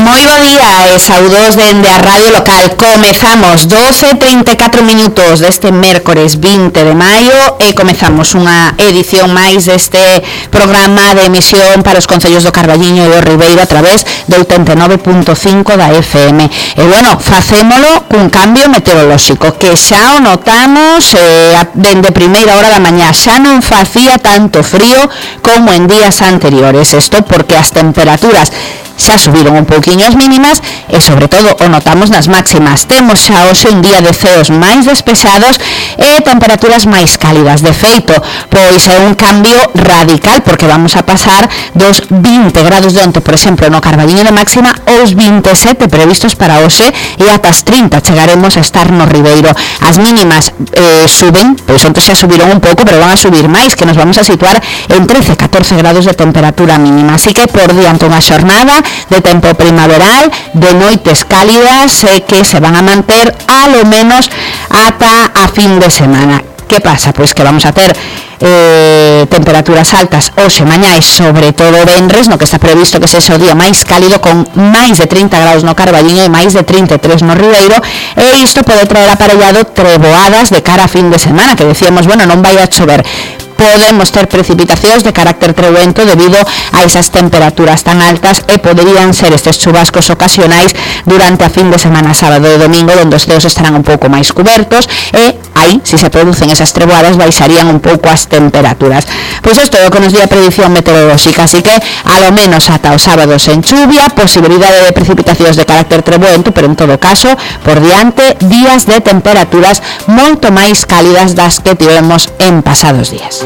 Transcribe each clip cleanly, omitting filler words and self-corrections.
Moi bo día e saudos dende a Radio Local. Comezamos 12:34 minutos deste mércores 20 de maio e comezamos unha edición máis deste programa de emisión para os concellos do Carballiño e do Ribeiro a través do 89.5 da FM. E bueno, facémolo cun cambio meteorolóxico que xa o notamos dende primeira hora da mañá. Xa non facía tanto frío como en días anteriores. Isto porque as temperaturas xa subiron un pouquiño as mínimas e sobre todo o notamos nas máximas. Temos xa hoxe un día de ceos máis despexados e temperaturas máis cálidas. De feito, pois é un cambio radical porque vamos a pasar dos 20 grados de onte, por exemplo, no Carballiño de máxima aos 27 previstos para hoxe e ata as 30 chegaremos a estar no Ribeiro. As mínimas suben, pois onte xa subiron un pouco, pero van a subir máis, que nos vamos a situar en 13-14 grados de temperatura mínima. Así que por diante unha xornada de tempo primaveral, de noites cálidas que se van a manter a lo menos ata a fin de semana. Que pasa? Pois que vamos a ter temperaturas altas hoxe, mañá e sobre todo venres, no que está previsto que sexa o día máis cálido con máis de 30 graus no Carballiño e máis de 33 no Ribeiro, e isto pode traer aparellado treboadas de cara a fin de semana, que decíamos, bueno, non vai a chover. Podemos ter precipitacións de carácter trebuento debido a esas temperaturas tan altas e poderían ser estes chubascos ocasionais durante a fin de semana, sábado e domingo, onde os ceos estarán un pouco máis cubertos e aí, se se producen esas treboadas, baixarían un pouco as temperaturas. Pois isto é o que nos di a predicción meteorolóxica, así que a lo menos ata os sábados en chuvia, posibilidade de precipitacións de carácter trebuento, pero en todo caso, por diante, días de temperaturas moito máis cálidas das que tivemos en pasados días.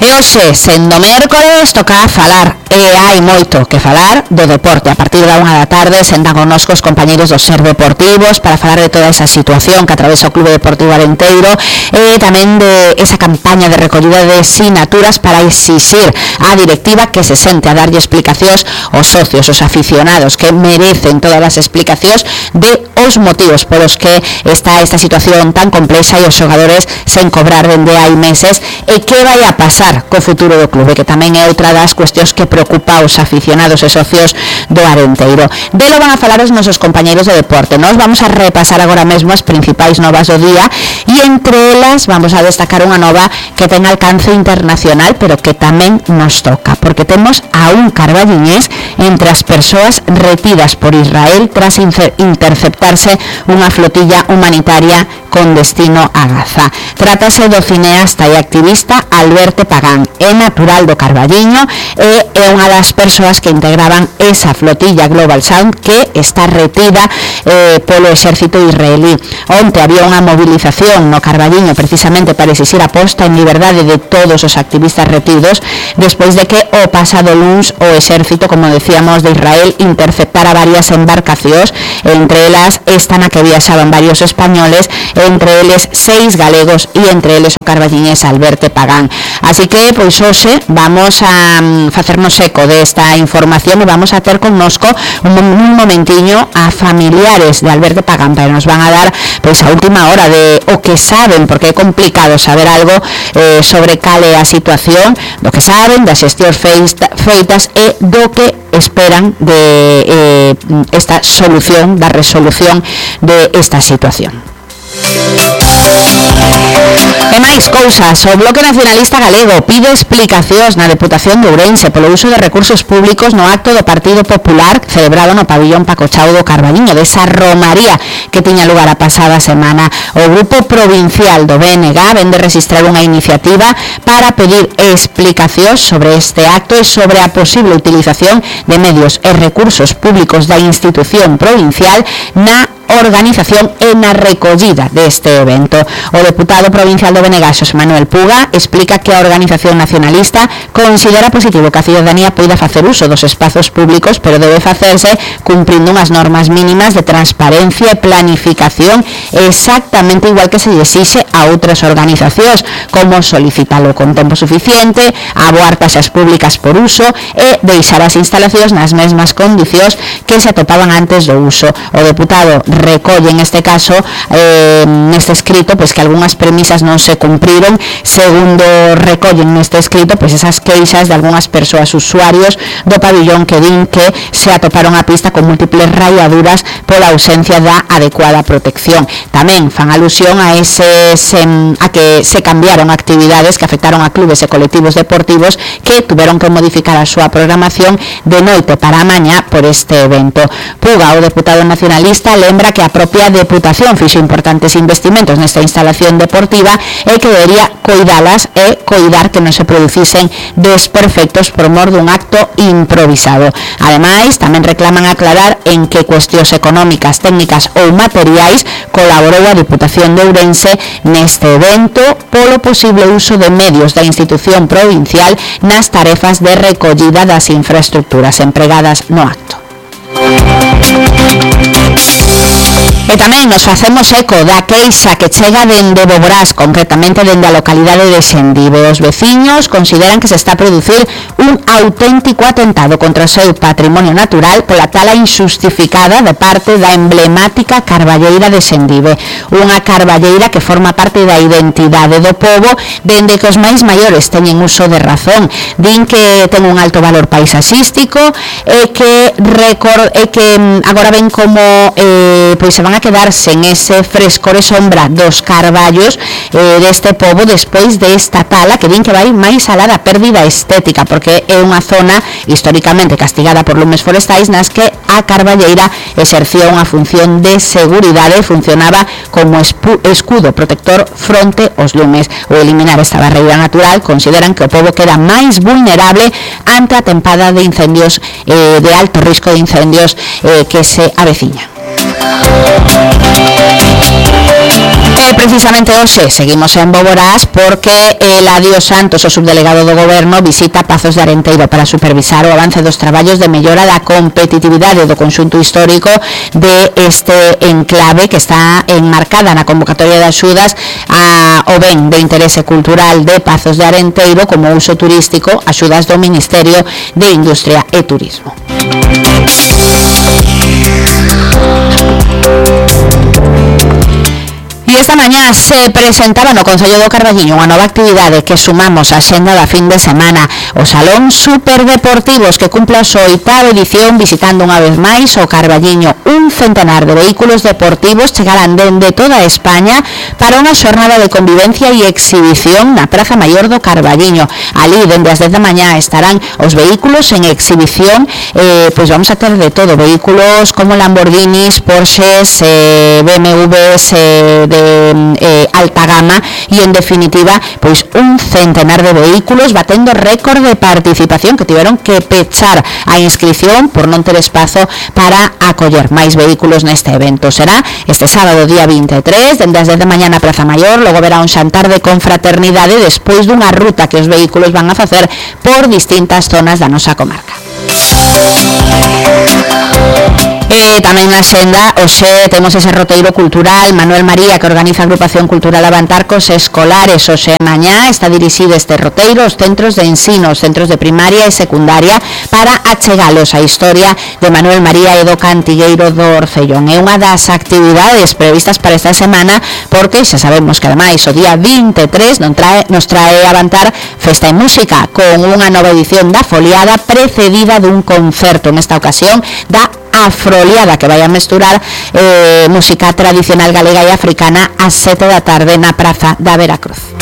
E hoxe, sendo mércores, toca falar, e hai moito que falar do deporte. A partir da 1 da tarde sentan connosco os compañeros do Ser Deportivos para falar de toda esa situación que atravesa o Clube Deportivo Arenteiro e tamén de esa campaña de recollida de sinaturas para exixir á directiva que se sente a darlle explicacións aos socios, aos aficionados, que merecen todas as explicacións de os motivos polos que está esta situación tan complexa e os xogadores sen cobrar dende hai meses, e que vai a pasar co futuro do clube, que tamén é outra das cuestións que preocupa aos aficionados e socios do Arenteiro. Delo van a falar os nosos compañeiros de deporte. Nós vamos a repasar agora mesmo as principais novas do día e entre elas vamos a destacar unha nova que ten alcance internacional, pero que tamén nos toca, porque temos a un carballiñés entre as persoas retidas por Israel tras interceptarse unha flotilla humanitaria con destino a Gaza. Trátase do cineasta e activista Alberto Pagán. É natural do Carballiño e é unha das persoas que integraban esa flotilla Global Sound que está retida polo exército israelí. Onte había unha movilización no Carballiño precisamente para exixir a posta en liberdade de todos os activistas retidos despois de que o pasado luns o exército, como decíamos, de Israel interceptara varias embarcacións, entre elas esta na que viaxaban varios españoles, entre eles 6 galegos e entre eles o carballiñés Alberto Pagán. Así que, pois hoxe vamos a facernos eco desta información e vamos a ter connosco un momentiño a familiares de Alberto Pagán, pero nos van a dar pois a última hora de o que saben, porque é complicado saber algo sobre cal é a situación, do que saben, das xestións feitas e do que esperan de esta solución, da resolución de esta situación. E máis cousas, o Bloque Nacionalista Galego pide explicacións na Deputación de Ourense polo uso de recursos públicos no acto do Partido Popular celebrado no pabillón Paco Chao do Carballiño, desa romaría que tiña lugar a pasada semana. O Grupo Provincial do BNG vende registrar unha iniciativa para pedir explicacións sobre este acto e sobre a posible utilización de medios e recursos públicos da institución provincial na organización e na recollida deste evento. O deputado provincial do BNG, Xosé Manuel Puga, explica que a organización nacionalista considera positivo que a ciudadanía poida facer uso dos espazos públicos, pero debe facerse cumprindo unhas normas mínimas de transparencia e planificación exactamente igual que se lle exixe a outras organizacións, como solicitalo con tempo suficiente, aboar taxas públicas por uso e deixar as instalacións nas mesmas condicións que se atopaban antes do uso. O deputado recolle en este caso neste escrito pois que algunhas premisas non se cumpriron. Segundo recollen neste escrito pois esas queixas de algunhas persoas usuarios do pabillón que din que se atoparon a pista con múltiples ralladuras pola ausencia da adecuada protección. Tamén fan alusión a que se cambiaron actividades que afectaron a clubes e colectivos deportivos que tuveron que modificar a súa programación de noite para a mañá por este evento. Puga, o deputado nacionalista, lembra que a propia Deputación fixo importantes investimentos nesta instalación deportiva e que debería coidalas e coidar que non se producisen desperfectos por mor dun acto improvisado. Ademais, tamén reclaman aclarar en que cuestións económicas, técnicas ou materiais colaborou a Diputación de Ourense neste evento polo posible uso de medios da institución provincial nas tarefas de recollida das infraestructuras empregadas no acto. E tamén nos facemos eco da queixa que chega dende Boborás, concretamente dende a localidade de Sendive. Os veciños consideran que se está a producir un auténtico atentado contra o seu patrimonio natural pola tala injustificada de parte da emblemática carballeira de Sendive. Unha carballeira que forma parte da identidade do pobo dende que os máis maiores teñen uso de razón. Din que ten un alto valor paisaxístico e que agora ven como pois se van a quedar sen ese frescor e sombra dos carballos deste pobo despois desta tala que din que vai máis alá da pérdida estética, porque é unha zona históricamente castigada por lumes forestais nas que a carballeira exercía unha función de seguridade e funcionaba como escudo protector fronte aos lumes. O eliminar esta barreira natural consideran que o pobo queda máis vulnerable ante a tempada de incendios de alto risco de incendios que se aveciña. Precisamente hoxe seguimos en Boborás porque Eladio Santos, o subdelegado do Goberno, visita Pazos de Arenteiro para supervisar o avance dos traballos de mellora da competitividade do conxunto histórico de este enclave que está enmarcada na convocatoria de axudas ao ben de interese cultural de Pazos de Arenteiro como uso turístico, axudas do Ministerio de Industria e Turismo. E esta mañá se presentaba no Concello do Carballiño unha nova actividade que sumamos á xenda da fin de semana, o Salón Superdeportivos, que cumple a súa 8ª edición visitando unha vez máis o Carballiño. Un centenar de vehículos deportivos chegarán dende toda España para unha xornada de convivencia e exhibición na Praza Maior do Carballiño. Ali, dende as 10 da mañá, estarán os vehículos en exhibición, pois vamos a ter de todo, vehículos como Lamborghinis, Porsches, BMWs, de alta gama e en definitiva pois un centenar de vehículos batendo récord de participación que tiveron que pechar a inscripción por non ter espazo para acoller máis vehículos neste evento. Será este sábado día 23 dende as 10 da mañá na Praza Maior, logo verá un xantar de confraternidade despois dunha ruta que os vehículos van a facer por distintas zonas da nosa comarca. Tamén na xenda hoxe temos ese roteiro cultural Manuel María que organiza a agrupación cultural Avantarcos Escolares. Hoxe mañá está dirixido este roteiro aos centros de ensino, os centros de primaria e secundaria para achegalos a historia de Manuel María e do Cantigueiro do Orcellón. É unha das actividades previstas para esta semana porque xa sabemos que ademais o día 23 nos trae Avantar Festa e Música con unha nova edición da Foliada precedida dun concerto, nesta ocasión da Afroliada, que vai a mesturar música tradicional galega e africana ás 7 da tarde na Praza da Veracruz.